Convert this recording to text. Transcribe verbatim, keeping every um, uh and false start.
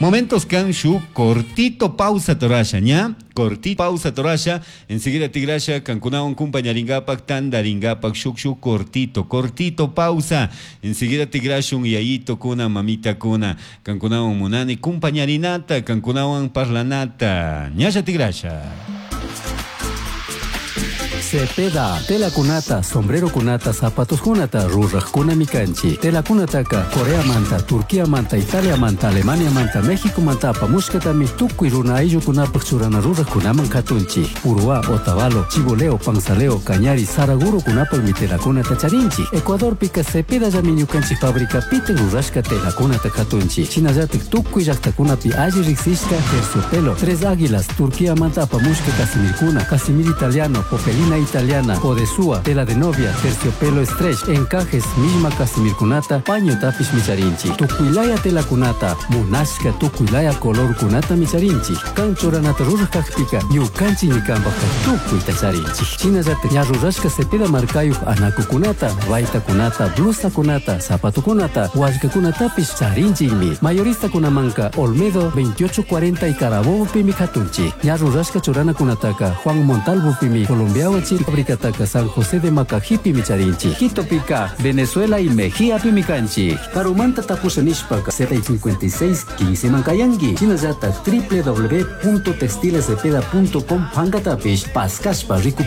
Momentos kan shu cortito pausa torasha, ña? Cortito pausa torasha, enseguida tigrasha kankunawan kumpañaringapak tandaringapak shuk shuk cortito, cortito pausa. Enseguida tigrashun yayito kuna mamita kuna kankunawan munani kumpañarinata, kankunawan parlanata. Ñasha tigrasha. Cepeda, telakunata, sombrerokunata, zapatoskunata, rurajkunami kanchik. Telakunataka Corea manta, Turquía manta, Italia manta, Alemania manta, México manta apamushkatami tukuy runa ayllukunapaq churana rurajkunaman katunchik. Uruá, Otavalo, Chiboleo, Panzaleo, Cañari, Saragurokunapaqmi telakunata charinchik. Ecuadorpika Cepedallami ñukanchik fabricapita rurashka telakunata katunchik. Shinallatik tukuy llaqtakunapi alli riqsishka terciopelo, Tres Águilas, Turquía manta apamushka casimirkuna, casimir italiano, popelina italiana, odesúa, tela de novia, terciopelo stretch, encajes, misma casimirkunata, paño tapish micharinchik. Tukuylaya telakunata, munashka tukuylaya colorkunata micharinchik. Kan churanata ruraj kajpika, ñukanchik ñikanpajka tukuyta charinchik. Shinallatak ña rurashka Cepeda markayuq anakukunata, baytakunata, blusakunata, zapatukunata, wallkakunatapish charinchikmi. Mayoristakunamanka Olmedo veintiocho cuarenta y Carabobopimi katunchik. Ña rurashka churanakunataka Juan Montalvopimi, Colombia fabricataka San José de Macajipi micharinchik. Quitopika, Venezuela y Mejía pimikanchik. Karumanta tapusha nishpaka Z cincuenta y seis quince mankayangi. Shinallata w w w punto textilescepeda punto com pankatapish paskashpa riku.